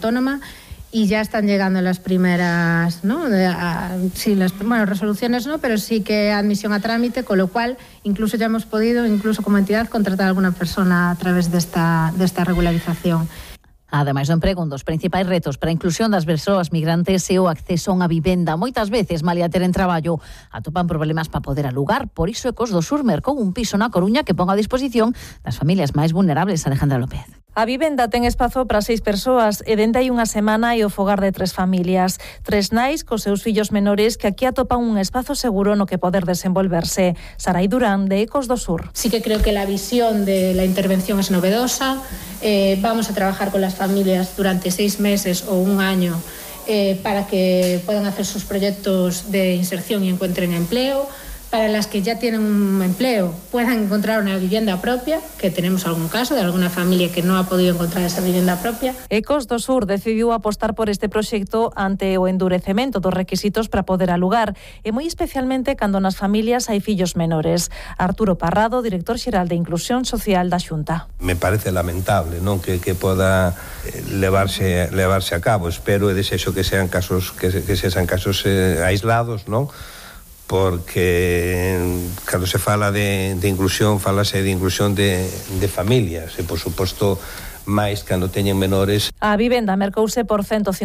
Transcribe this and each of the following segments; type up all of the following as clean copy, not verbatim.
autónoma, y ya están llegando las primeras, ¿no? Resoluciones no, pero sí que admisión a trámite, con lo cual incluso ya hemos podido, incluso como entidad, contratar a alguna persona a través de esta regularización. Ademais do emprego, un dos principais retos para a inclusión das persoas migrantes é o acceso a unha vivenda. Moitas veces, malia teren traballo, atopan problemas para poder alugar. Por iso Ecos do Sur mercou un piso na Coruña que pon a disposición das familias máis vulnerables. Alejandra López. A vivenda ten espazo para 6 persoas e dende hai unha semana é o fogar de 3 familias. 3 nais cos seus fillos menores que aquí atopan un espazo seguro no que poder desenvolverse. Sarai Durán, de Ecos do Sur. Sí que creo que la visión de la intervención es novedosa. Vamos a trabajar con las familias durante 6 meses o un año para que puedan hacer sus proyectos de inserción y encuentren empleo. Para las que ya tienen un empleo puedan encontrar una vivienda propia, que tenemos algún caso de alguna familia que no ha podido encontrar esa vivienda propia. Ecos do Sur decidiu apostar por este proxecto ante o endurecemento dos requisitos para poder alugar, e moi especialmente cando nas familias hai fillos menores. Arturo Parrado, director xeral de Inclusión Social da Xunta. Me parece lamentable, non, que poda levarse a cabo. Espero e desexo que sean casos aislados, non? Porque cando se fala de inclusión, falase de inclusión de familias e, por suposto, máis cando teñen menores. A vivenda mercouse por 150.000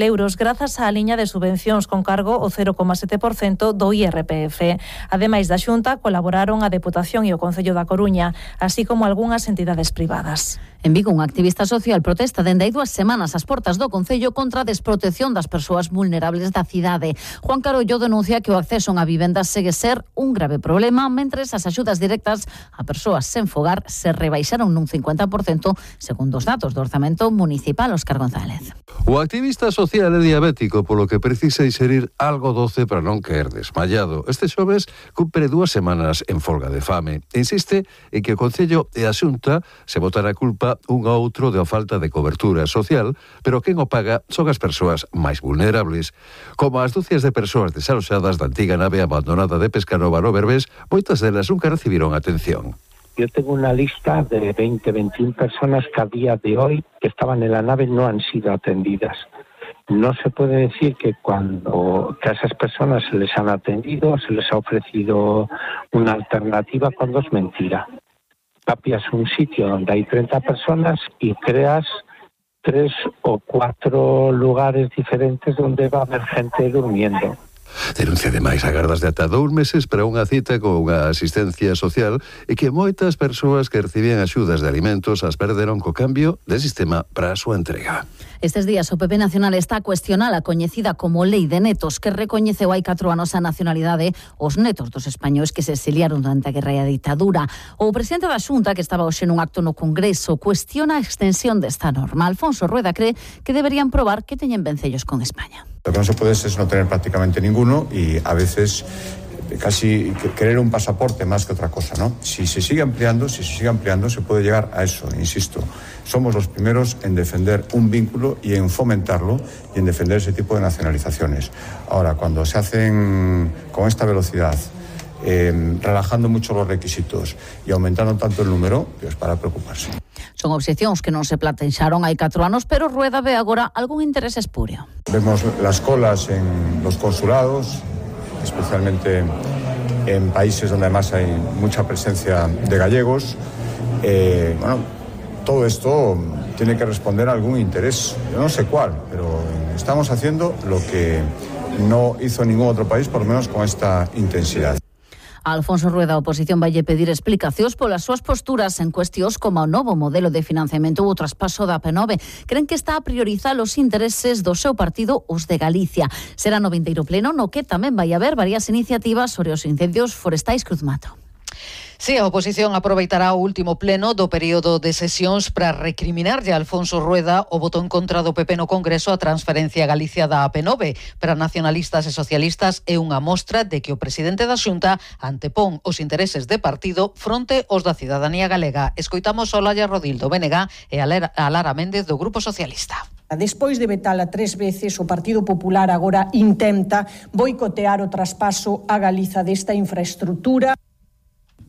euros grazas á liña de subvencións con cargo o 0,7% do IRPF. Ademais da Xunta, colaboraron a Deputación e o Concello da Coruña, así como algunhas entidades privadas. En Vigo, un activista social protesta dende hai 2 semanas ás portas do Concello contra a desprotección das persoas vulnerables da cidade. Juan Carollo denuncia que o acceso a unha vivenda segue ser un grave problema, mentres as axudas directas a persoas sen fogar se rebaixaron nun 50%, segundo os datos do Orzamento Municipal. Óscar González. O activista social é diabético, polo que precisa inserir algo doce para non caer desmayado. Este xoves cumpre 2 semanas en folga de fame. Insiste en que o Concello e a Xunta se botan a culpa un a outro da falta de cobertura social, pero quen o paga son as persoas máis vulnerables. Como as dúcias de persoas desaloxadas da antiga nave abandonada de Pescanova no Berbés, moitas delas nunca recibiron atención. Yo tengo una lista de 20-21 personas que a día de hoy que estaban en la nave no han sido atendidas. No se puede decir que a esas personas se les han atendido, se les ha ofrecido una alternativa, cuando es mentira. Capias un sitio donde hay 30 personas y creas 3 o 4 lugares diferentes donde va a haber gente durmiendo. Denuncia ademais agardas de ata 2 meses para unha cita con unha asistencia social e que moitas persoas que recibían axudas de alimentos as perderon co cambio de sistema para a súa entrega. Estes días o PP Nacional está a cuestionar a coñecida como Lei de Netos, que recoñeceu hai 4 anos a nacionalidade os netos dos españois que se exiliaron durante a guerra e a ditadura. O presidente da Xunta, que estaba hoxe nun acto no Congreso, cuestiona a extensión desta norma. Alfonso Rueda cree que deberían probar que teñen vencellos con España. Lo que no se puede es no tener prácticamente ninguno y a veces casi querer un pasaporte más que otra cosa, ¿no? Si se sigue ampliando, se puede llegar a eso, insisto. Somos los primeros en defender un vínculo y en fomentarlo y en defender ese tipo de nacionalizaciones. Ahora, cuando se hacen con esta velocidad, relajando mucho los requisitos y aumentando tanto el número, pues para preocuparse. Son obxeccións que non se plantearon hai 4 anos, pero Rueda ve agora algún interés espurio. Vemos las colas en los consulados, especialmente en países donde además hay mucha presencia de gallegos. Todo esto tiene que responder a algún interés, yo no sé cuál, pero estamos haciendo lo que no hizo ningún otro país, por lo menos con esta intensidad. A Alfonso Rueda, a oposición vaille pedir explicacións polas súas posturas en cuestións como o novo modelo de financiamento ou o traspaso da AP9. Creen que está a priorizar os intereses do seu partido, os de Galicia. Será no vindeiro pleno no que tamén vai haber varias iniciativas sobre os incendios forestais. Cruz Mato. Si, a oposición aproveitará o último pleno do período de sesións para recriminarlle a Alfonso Rueda o voto en contra do PP no Congreso a transferencia a Galicia da AP9. Para nacionalistas e socialistas é unha mostra de que o presidente da Xunta antepón os intereses de partido fronte aos da cidadanía galega. Escoitamos a Olalla Rodil do BNG e a Lara Méndez do Grupo Socialista. Despois de vetala 3 veces, o Partido Popular agora intenta boicotear o traspaso a Galiza desta infraestructura.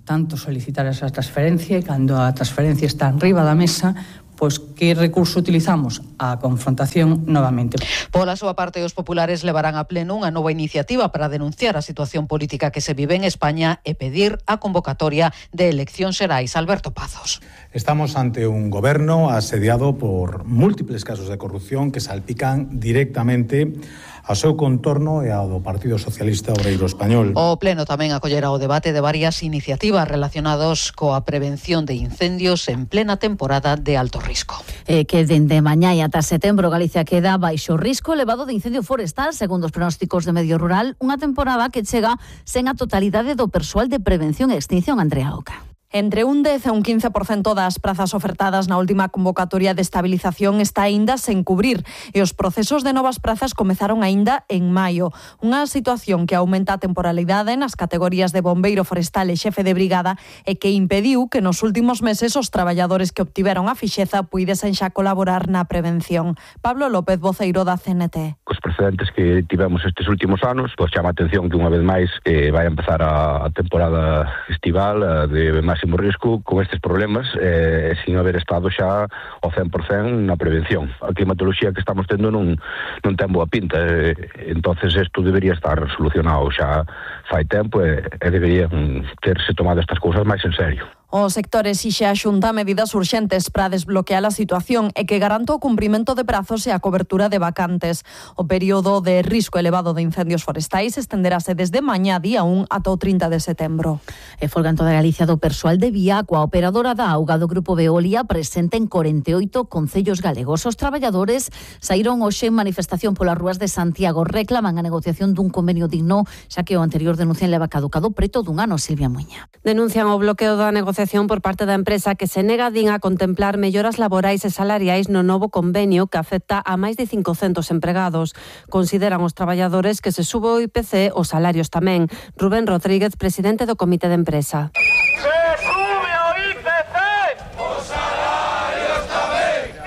Tanto solicitar esa transferencia e cando a transferencia está enriba da mesa, pois que recurso utilizamos? A confrontación novamente. Pola súa parte, os populares levarán a pleno unha nova iniciativa para denunciar a situación política que se vive en España e pedir a convocatoria de eleccións xerais. Alberto Pazos. Estamos ante un goberno asediado por múltiples casos de corrupción que salpican directamente ao seu contorno e ao do Partido Socialista Obreiro Español. O Pleno tamén acollerá o debate de varias iniciativas relacionadas coa prevención de incendios en plena temporada de alto risco. Que dende mañá e ata setembro Galicia queda baixo risco elevado de incendio forestal, segundo os pronósticos de Medio Rural, unha temporada que chega sen a totalidade do persoal de prevención e extinción. Andrea Oca. Entre un 10 e un 15% das prazas ofertadas na última convocatoria de estabilización está aínda sen cubrir e os procesos de novas prazas comezaron aínda en maio. Unha situación que aumenta a temporalidade nas categorías de bombeiro forestal e xefe de brigada e que impediu que nos últimos meses os traballadores que obtiveron a fixeza puidesen xa colaborar na prevención. Pablo López, voceiro da CNT. Os precedentes que tivemos estes últimos anos, pois chama a atención que unha vez máis vai a empezar a temporada estival de máximo risco con estes problemas sin haber estado xa ao 100% na prevención. A climatoloxía que estamos tendo non ten boa pinta, entonces isto debería estar solucionado xa fai tempo e deberían terse tomado estas cousas máis en serio. O sector exixe a Xunta medidas urxentes para desbloquear a situación e que garanta o cumprimento de prazos e a cobertura de vacantes. O período de risco elevado de incendios forestais estenderase desde mañá día 1 ata o 30 de setembro. E folga en toda Galicia do persoal de Viaco, a operadora da auga do Grupo Veolia, presente en 48 concellos galegos. Os traballadores saíron hoxe en manifestación polas rúas de Santiago, reclaman a negociación dun convenio digno, xa que o anterior denuncian leva caducado preto dun ano. Silvia Muña. Denuncian o bloqueo da negociación por parte da empresa que se nega a contemplar melloras laborais e salariais no novo convenio que afecta a máis de 500 empregados. Consideran os traballadores que se sube o IPC, os salarios tamén. Rubén Rodríguez, presidente do Comité de Empresa.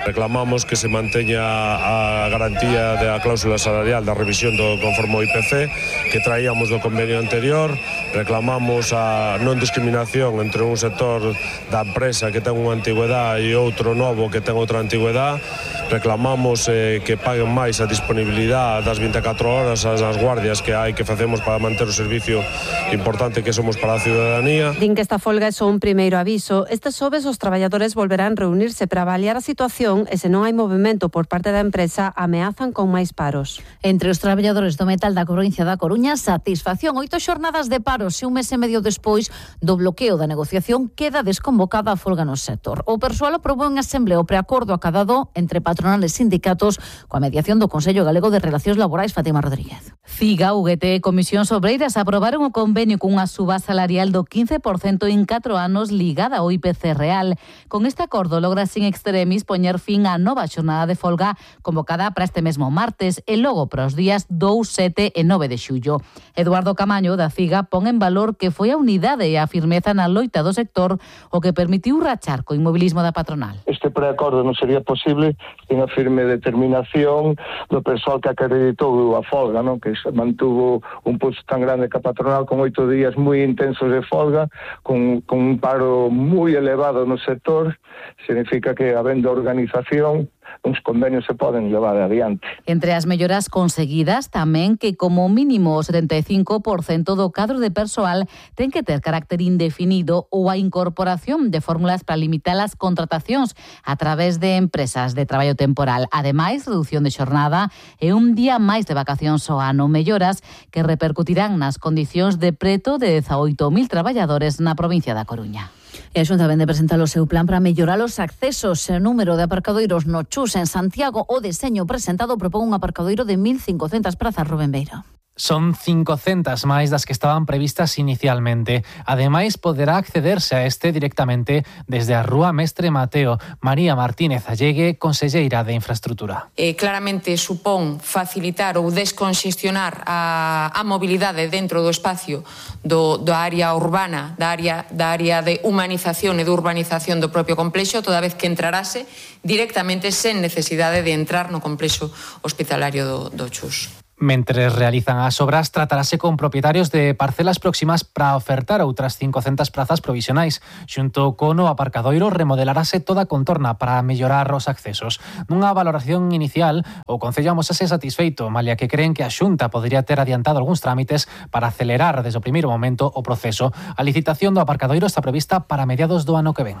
Reclamamos que se manteña a garantía da cláusula salarial da revisión do conforme ao IPC que traíamos do convenio anterior. Reclamamos a non discriminación entre un sector da empresa que ten unha antigüedade e outro novo que ten outra antigüedade. Reclamamos que paguen máis a disponibilidade das 24 horas as guardias que hai que facemos para manter o servicio importante que somos para a ciudadanía. Din que esta folga é só un primeiro aviso. Este xoves os traballadores volverán reunirse para avaliar a situación e se non hai movimento por parte da empresa, ameazan con máis paros. Entre os traballadores do metal da provincia da Coruña, satisfacción. 8 xornadas de paros e un mes e medio despois do bloqueo da negociación queda desconvocada a folga no sector. O persoal aprobou en asemblea o preacordo acadado entre patronales e sindicatos coa mediación do Consello Galego de Relacións Laborais. Fátima Rodríguez. CIGA, UGT e Comisións Obreiras aprobaron o convenio cunha suba salarial do 15% en 4 anos ligada ao IPC real. Con este acordo logra sin extremis poñer fin á nova xornada de folga convocada para este mesmo martes e logo para os días 2, 7 e 9 de xullo. Eduardo Camaño, da CIGA, pon en valor que foi a unidade e a firmeza na loita do sector o que permitiu rachar co inmobilismo da patronal. Este preacordo non sería posible sin a firme determinación do persoal que acreditou a folga, non? Que mantuvo un pulso tan grande que a patronal con 8 días moi intensos de folga, con un paro moi elevado no sector. Significa que, habendo organización, uns convenios se poden levar adiante. Entre as melloras conseguidas tamén que como mínimo o 75% do cadro de persoal ten que ter carácter indefinido ou a incorporación de fórmulas para limitar as contratacións a través de empresas de traballo temporal. Ademais, reducción de xornada e un día máis de vacacións ao ano, melloras que repercutirán nas condicións de preto de 18.000 traballadores na provincia da Coruña. E a Xunta vende presentar o seu plan para mellorar os accesos. O número de aparcadoiros no Chus en Santiago, o deseño presentado propón un aparcadoiro de 1.500 prazas. Rubén Beiro. Son 500 máis das que estaban previstas inicialmente. Ademais, poderá accederse a este directamente desde a Rúa Mestre Mateo. María Martínez Allegue, conselleira de Infraestructura. Claramente supón facilitar ou desconxestionar a mobilidade dentro do espacio da área urbana, da área de humanización e de urbanización do propio complexo, toda vez que entrarase directamente sen necesidade de entrar no complexo hospitalario do Chus. Mentres realizan as obras, tratarase con propietarios de parcelas próximas para ofertar outras 500 prazas provisionais. Xunto con o aparcadoiro, remodelarase toda a contorna para mellorar os accesos. Nunha valoración inicial, o Concello amosase satisfeito, malia que creen que a Xunta podería ter adiantado algúns trámites para acelerar desde o primeiro momento o proceso. A licitación do aparcadoiro está prevista para mediados do ano que ven.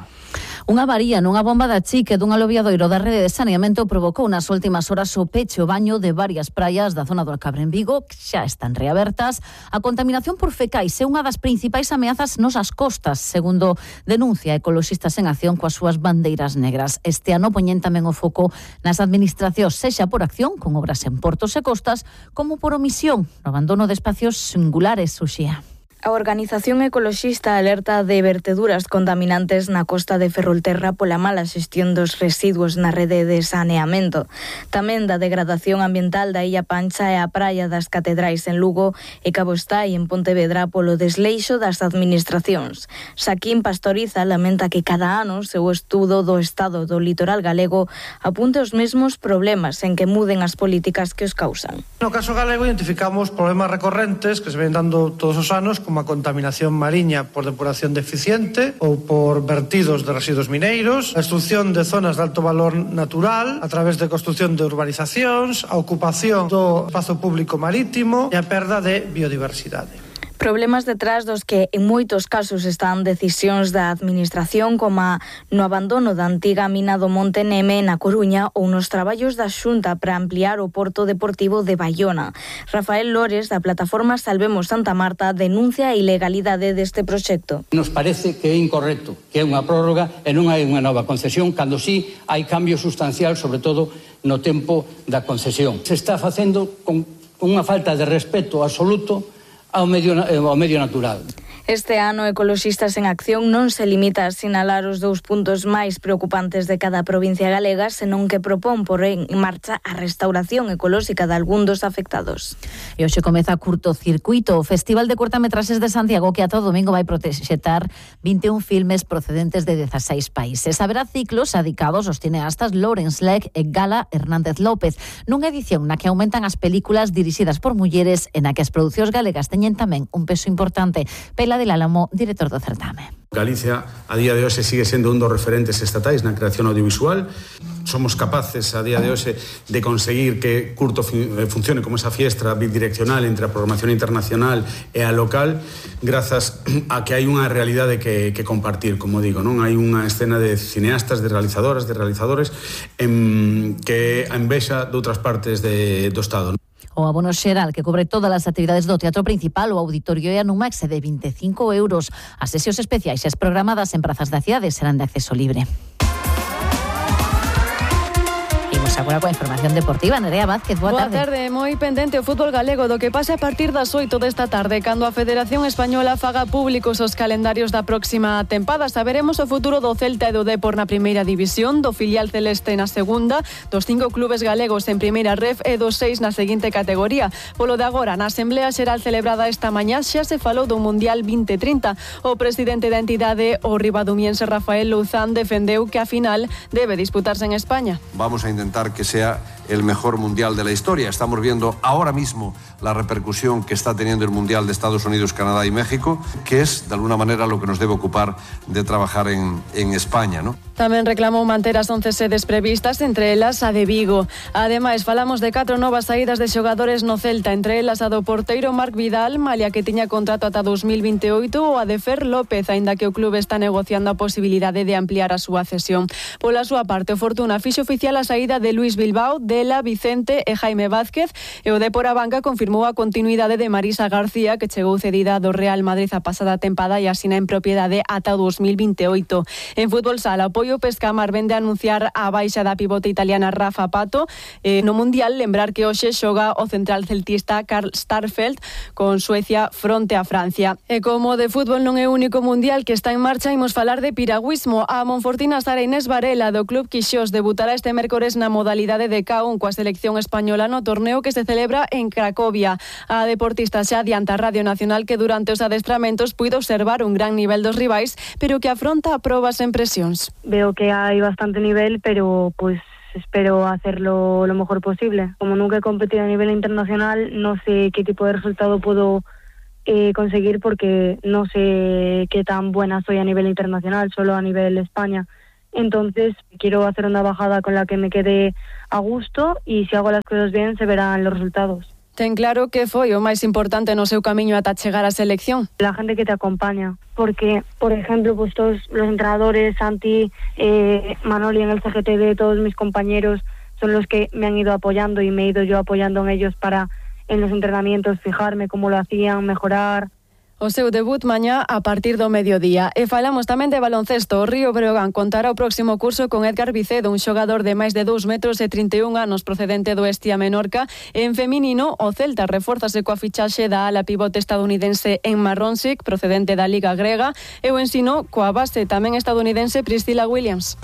Unha avaría nunha bomba de achique dun aluviadoiro da rede de saneamento provocou nas últimas horas o peche o baño de varias praias da zona do Alcabre en Vigo, que xa están reabertas. A contaminación por fecais é unha das principais ameazas nos as costas, segundo denuncia Ecoloxistas en Acción coas súas bandeiras negras. Este ano poñen tamén o foco nas administracións, sexa por acción, con obras en portos e costas, como por omisión, no abandono de espacios singulares, Uxía. A organización ecoloxista alerta de verteduras contaminantes na costa de Ferrolterra pola mala xestión dos residuos na rede de saneamento. Tamén da degradación ambiental da Illa Pancha e a praia das Catedrais en Lugo e Cabo Estai en Pontevedra polo desleixo das administracións. Xaquín Pastoriza lamenta que cada ano o seu estudo do estado do litoral galego apunte os mesmos problemas en que muden as políticas que os causan. No caso galego identificamos problemas recorrentes que se ven dando todos os anos, como a contaminación mariña por depuración deficiente ou por vertidos de residuos mineiros, a destrucción de zonas de alto valor natural a través de construcción de urbanizacións, a ocupación do espazo público marítimo e a perda de biodiversidade. Problemas detrás dos que en moitos casos están decisións da administración, como no abandono da antiga mina do Monte Neme na Coruña ou nos traballos da Xunta para ampliar o porto deportivo de Baiona. Rafael Lores, da plataforma Salvemos Santa Marta, denuncia a ilegalidade deste proxecto. Nos parece que é incorrecto, que é unha prórroga e non hai unha nova concesión, cando sí hai cambio sustancial, sobre todo no tempo da concesión. Se está facendo con unha falta de respeto absoluto ao medio natural. Este ano, Ecoloxistas en Acción non se limita a sinalar os 2 puntos máis preocupantes de cada provincia galega, senón que propón por en marcha a restauración ecolóxica de algún dos afectados. E hoxe comeza Curtocircuito, o Festival de Cortametraxes de Santiago, que ata o domingo vai proxectar 21 filmes procedentes de 16 países. Haberá ciclos dedicados aos cineastas Lawrence Legg e Gala Hernández López, nunha edición na que aumentan as películas dirixidas por mulleres e na que as producións galegas teñen tamén un peso importante. Pela del Álamo, director do certame. Galicia, a día de hoxe, sigue sendo un dos referentes estatais na creación audiovisual. Somos capaces, a día de hoxe, de conseguir que Curto funcione como esa fiestra bidireccional entre a programación internacional e a local, grazas a que hai unha realidade que compartir, como digo, non? Hai unha escena de cineastas, de realizadoras, de realizadores, que a envexa de outras partes do Estado. O abono xeral que cobre todas as actividades do Teatro Principal ou Auditorio e a Numax é de 25 euros. As sesións especiais e as programadas en prazas da cidade serán de acceso libre. Agora coa información deportiva, Nerea Vázquez, boa tarde. Boa tarde, moi pendente o fútbol galego do que pase a partir das 8 desta tarde, cando a Federación Española faga públicos os calendarios da próxima tempada. Saberemos o futuro do Celta e do Depor na primeira división, do filial celeste na segunda, dos 5 clubes galegos en primeira ref e dos 6 na seguinte categoría. Polo de agora, na Asamblea Xeral celebrada esta mañá, xa se falou do Mundial 2030. O presidente da entidade, o ribadumiense Rafael Louzán, defendeu que a final debe disputarse en España. Vamos a intentar que sea el mejor mundial de la historia. Estamos viendo ahora mismo la repercusión que está teniendo el Mundial de Estados Unidos, Canadá y México, que es, de alguna manera, lo que nos debe ocupar de trabajar en España, ¿no? Tamén reclamou manter as 11 sedes previstas, entre elas a de Vigo. Ademais, falamos de 4 novas saídas de xogadores no Celta, entre elas a do porteiro Marc Vidal, malia que tiña contrato ata 2028, ou a de Fer López, aínda que o clube está negociando a posibilidade de ampliar a súa cesión. Pola súa parte, o Fortuna fixo oficial a saída de Luis Bilbao, Dela, Vicente e Jaime Vázquez, e o Depor a banca confirmou a continuidade de Marisa García, que chegou cedida do Real Madrid a pasada tempada e asina en propiedade ata 2028. En fútbol sala, o Pescamar vende a anunciar a baixa da pivote italiana Rafa Pato. No Mundial, lembrar que hoxe xoga o central celtista Karl Starfelt con Suecia fronte a Francia. E como de fútbol non é o único Mundial que está en marcha, imos falar de piragüismo. A monfortina Sara Inés Varela do Club Quixós debutará este mércores na modalidade de K1 coa selección española no torneo que se celebra en Cracovia. A deportista xa adianta a Radio Nacional que durante os adestramentos puido observar un gran nivel dos rivais, pero que afronta probas en presións. Veo que hai bastante nivel, pero pues espero hacerlo lo mejor posible. Como nunca he competido a nivel internacional, no sé qué tipo de resultado puedo conseguir porque no sé qué tan buena soy a nivel internacional, solo a nivel España. Entonces quiero hacer una bajada con la que me quede a gusto y si hago las cosas bien se verán los resultados. Ten claro que foi o máis importante no seu camiño ata chegar á selección. La gente que te acompaña, porque, por ejemplo, pues todos los entrenadores, Santi, Manoli en el CGTD, todos mis compañeros son los que me han ido apoyando y me he ido yo apoyando en ellos para en los entrenamientos fijarme cómo lo hacían, mejorar. O seu debut mañá a partir do mediodía. E falamos tamén de baloncesto. O Río Breogán contará o próximo curso con Edgar Vicedo, un xogador de máis de 2 metros e 31 anos procedente do Estia Menorca. En feminino, o Celta refórzase coa fichaxe da ala pivote estadounidense Emma Ronsick, procedente da Liga Grega, e o Ensino coa base tamén estadounidense Priscilla Williams.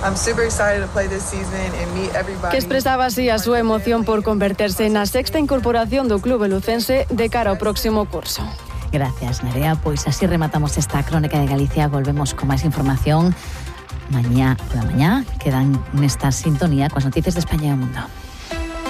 Que expresaba así a súa emoción por converterse na sexta incorporación do clube lucense de cara ao próximo curso. Gracias, Nerea. Pois así rematamos esta crónica de Galicia. Volvemos con máis información mañá pola mañá. Quedan nesta sintonía coas noticias de España e o mundo.